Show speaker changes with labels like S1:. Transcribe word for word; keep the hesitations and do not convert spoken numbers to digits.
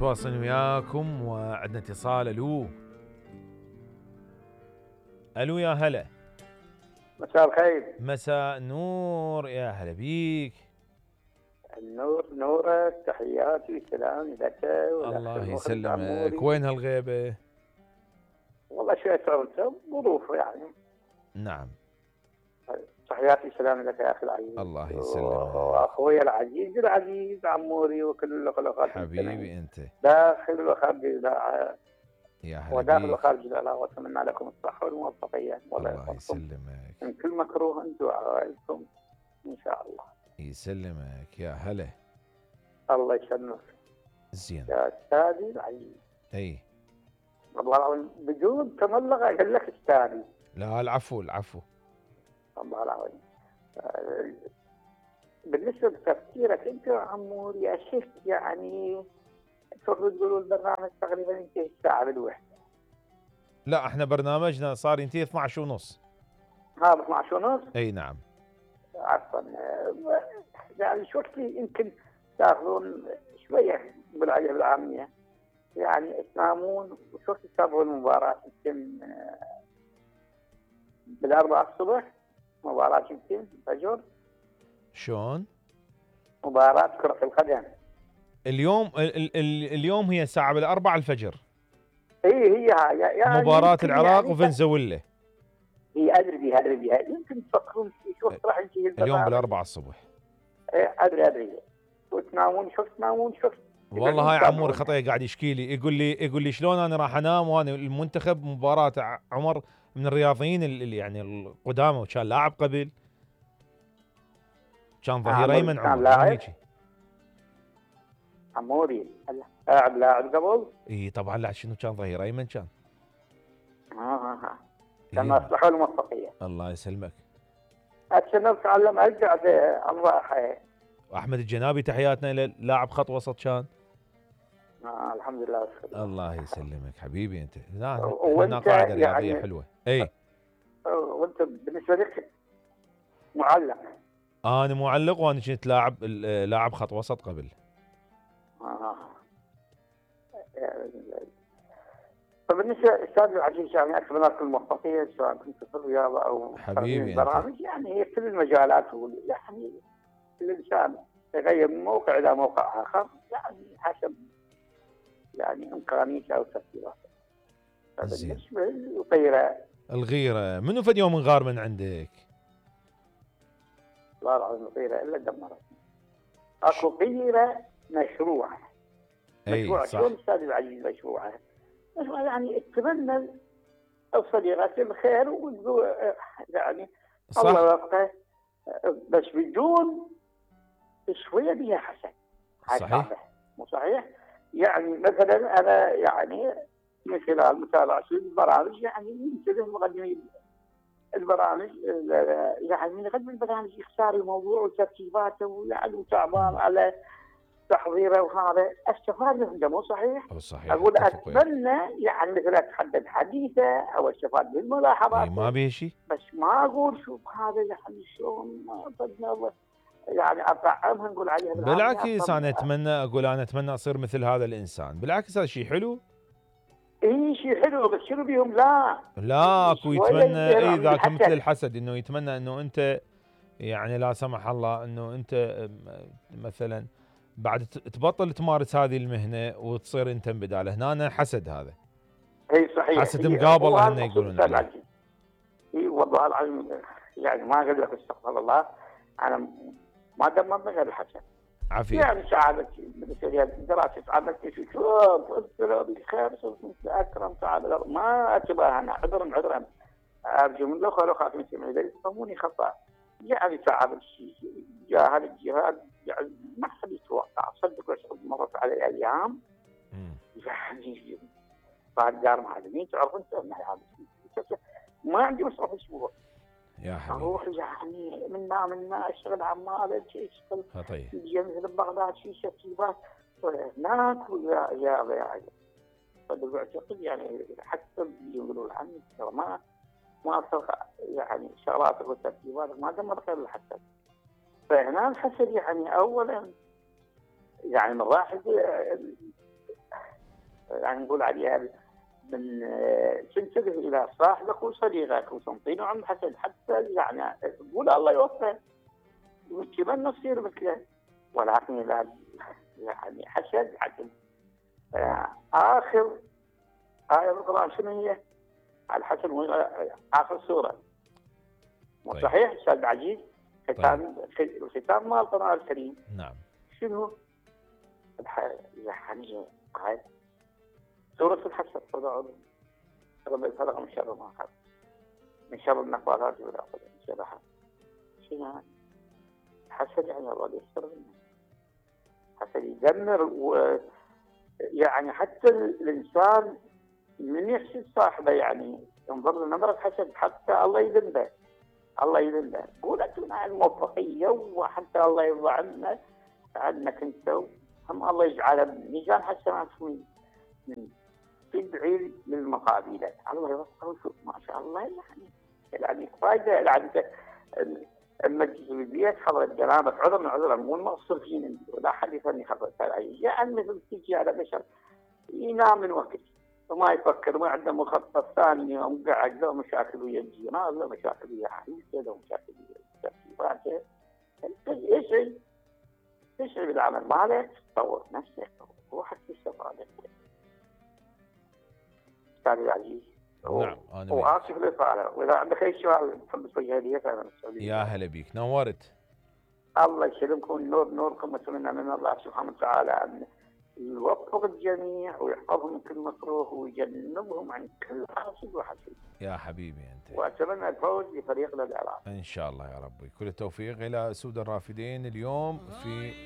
S1: متواصلين وياكم وعندنا اتصال. الو الو يا هلا.
S2: مساء الخير.
S1: مساء نور، يا هلا بيك.
S2: النور نورك، تحياتي وسلامي لك.
S1: الله يسلمك. وين هالغيبة؟
S2: والله شوية ظروف يعني.
S1: نعم.
S2: تحياتي وسلامي لك يا اخي العزيز.
S1: الله يسلمك.
S2: واخوي العزيز العزيز عموري وكل الاخوات
S1: حبيبي انت
S2: داخل وخارج الاذاعه.
S1: يا هلا
S2: وداخل وخارج الاذاعه، واتمنى لكم الصحه والموفقيه.
S1: الله يسلمك.
S2: من كل مكروه انتم وعائلتكم ان شاء الله.
S1: يسلمك يا هلا.
S2: الله يسلمك.
S1: زين
S2: يا استاذي العزيز.
S1: اي
S2: والله بدون تملق اقول لك استاذي.
S1: لا العفو العفو.
S2: الله العظيم. بالنسبه لتفكيرك انت يا عمور، يا شيخ يعني المفروض تقولوا البرنامج تقريبا ينتهي الساعه بالوحده.
S1: لا احنا برنامجنا صار ينتهي اثنعش ونص.
S2: ها اثنعش ونص؟
S1: اي نعم.
S2: عفوا يعني شو وقت يمكن تاخذون شويه بالعجله بالعاميه، يعني تنامون وشو وقت تتابعون المباراه؟ يمكن بالاربعه الصبح مباراه يمكن الفجر.
S1: شلون؟
S2: مباراه كره القدم
S1: اليوم ال ال اليوم هي الساعه بالاربعه الفجر.
S2: اي هي هاي يعني
S1: مباراه العراق
S2: يعني
S1: وفنزويلا.
S2: اي ادري بها ادري بها. يمكن تفكرون شو وقت راح ينتهي
S1: اليوم بالاربعه الصبح.
S2: اي ادري ادري. وتنامون شو تنامون شو؟
S1: والله هاي عمور خطيه قاعد يشكي لي، يقول لي يقول لي شلون انا راح انام وانا المنتخب مباراه عمر من الرياضيين اللي يعني القدامى، وكان لاعب قبل، كان ظهير ايمن عمر.
S2: كان لاعب عموري لاعب لاعب قبل.
S1: اي طبعا. لا شنو كان ظهير ايمن كان.
S2: اه اه كان الصحه والموفقيه.
S1: الله يسلمك.
S2: اتشنو تعلم ارجع الراحه.
S1: واحمد الجنابي تحياتنا له، لاعب خط وسط كان.
S2: آه الحمد لله.
S1: الله يسلمك حبيبي انت. لا
S2: احنا
S1: قاعده رياضيه
S2: يعني
S1: حلوه. اي
S2: وانت بالنسبه لك معلق؟
S1: انا معلق وانا كنت لاعب لاعب خط وسط قبل.
S2: اه فبالنسبه استاذ العزيز يعني اتمنى لك الموفقيه سواء كنت في الرياضه او
S1: حبيبي
S2: البرامج. يعني هي كل المجالات، يعني الانسان يغير من موقع الى موقع اخر يعني حسب يعني امكانيته او تفكيراته. بالنسبه للغيره
S1: الغيره منو فد يوم غار من عندك؟
S2: لا لا الغيره الا دمرتني. اكو غيره مشروعه. مشروع شلون استاذ العزيز مشروعه؟ مشروع يعني اتمنى الصديقات الخير وتقول يعني
S1: صح.
S2: الله وفقه، بس بدون شويه بها حسن.
S1: صحيح.
S2: مو صحيح؟ يعني مثلا انا يعني من خلال متابعتي البرامج يعني ينتبه مقدمين البرامج يعني يقدم البرامج يختار الموضوع وترتيباته ويعني وتعبان على تحضيره وهذا استفاد منه. مو صحيح؟
S1: صحيح.
S2: اقول اتمنى يعني مثلا اتحدد حديثه او استفاد من ملاحظاته.
S1: ما به شيء.
S2: بس ما اقول شوف هذا يعني شلون يعني اطعمها نقول عليها
S1: بالعكس انا اتمنى اقول انا اتمنى اصير مثل هذا الانسان. بالعكس هذا شيء حلو.
S2: اي شيء حلو، بس شنو بيهم لا
S1: لا اكو يتمنى اي ذاك مثل الحسد، انه يتمنى انه انت يعني لا سمح الله انه انت مثلا بعد تبطل تمارس هذه المهنه وتصير انت بداله. هنا حسد هذا.
S2: اي صحيح.
S1: حسد مقابل هن يقولون عليه.
S2: اي والله العظيم يعني ما اقول لك استغفر الله، انا ما دمرنا غير الحسد.
S1: عافية.
S2: يعني سعادتي بالنسبه دراسه سعادتي في شوف قلت بخير صرت مثل اكرم سعاده ما اتباهى انا عذرا عذرا ارجو من الاخوه والاخوات المسلمين اذا يفهموني خطا. يعني سعادتي جاه هذا الجهاد يعني ما حد يتوقع صدق. مرت على الايام يعني بعد دار معلمين تعرف انت ما عندي مصرف اسبوع
S1: يا حبيبي
S2: اروح يعني منا منا اشتغل عمال شيء اشتغل
S1: طيب
S2: مثل بغداد شيء ترتيبات هناك ويا يا يا صدق اعتقد يعني حتى يقولون عني ما ما اتوقع يعني شغلات وترتيبات ما دمر غير الحسد. فهنا الحسد يعني اولا يعني من راحل يعني نقول عليها من تنتبه الى صاحبك وصديقك وتنطينه عن الحسد، حتى يعني تقول الله يوفقه وتمنى تصير مثله، ولكن اذا يعني حسد حسد. اخر آية بالقرآن شنو هي؟ الحسد اخر سورة. مو صحيح استاذ عزيز؟ ختام الختام مال القرآن الكريم.
S1: نعم.
S2: شنو؟ يعني هاي سورة الحسد. رب الفلق من شر ما خلق من شر النفاثات في العقد من شر حسد. شنو حسد؟ يعني الله يستر منه. حسد يدمر، ويعني حتى الانسان من يحسد صاحبه يعني ينظر لنظرة حسد حتى الله يذنبه. الله يذنبه. قول انتم على الموفقية وحتى الله يرضى عنا عنك انت، هم الله يجعله ميزان حسنات من تدعي للمقابلات. الله يوفقه. شوف ما شاء الله يعني يعني فايدة يعني المجلس البيت حضرت جنابك عذر من عذر مو المقصر فينا ولا حد يفني حضرت يعني مثل تجي على بشر ينام من وقت وما يفكر ما عنده مخطط ثاني يوم قاعد له مشاكل ويا الجيران له مشاكل ويا حبيبته له مشاكل ويا ترتيباته. يسعي يسعي بالعمل مالك تطور نفسك روحك تستفاد. استاذ العزيز.
S1: نعم انا
S2: واسف للاطاله، واذا عندك اي سؤال تحب تسويها لي فانا مسؤول.
S1: يا هلا بيك نورت.
S2: الله يسلمكم نور نوركم واتمنى من الله سبحانه وتعالى ان يوفق الجميع ويحفظهم من كل مكروه ويجنبهم عن كل حاسد وحسد.
S1: يا حبيبي انت.
S2: واتمنى الفوز لفريقنا العراقي
S1: ان شاء الله يا ربي. كل التوفيق الى اسود الرافدين اليوم في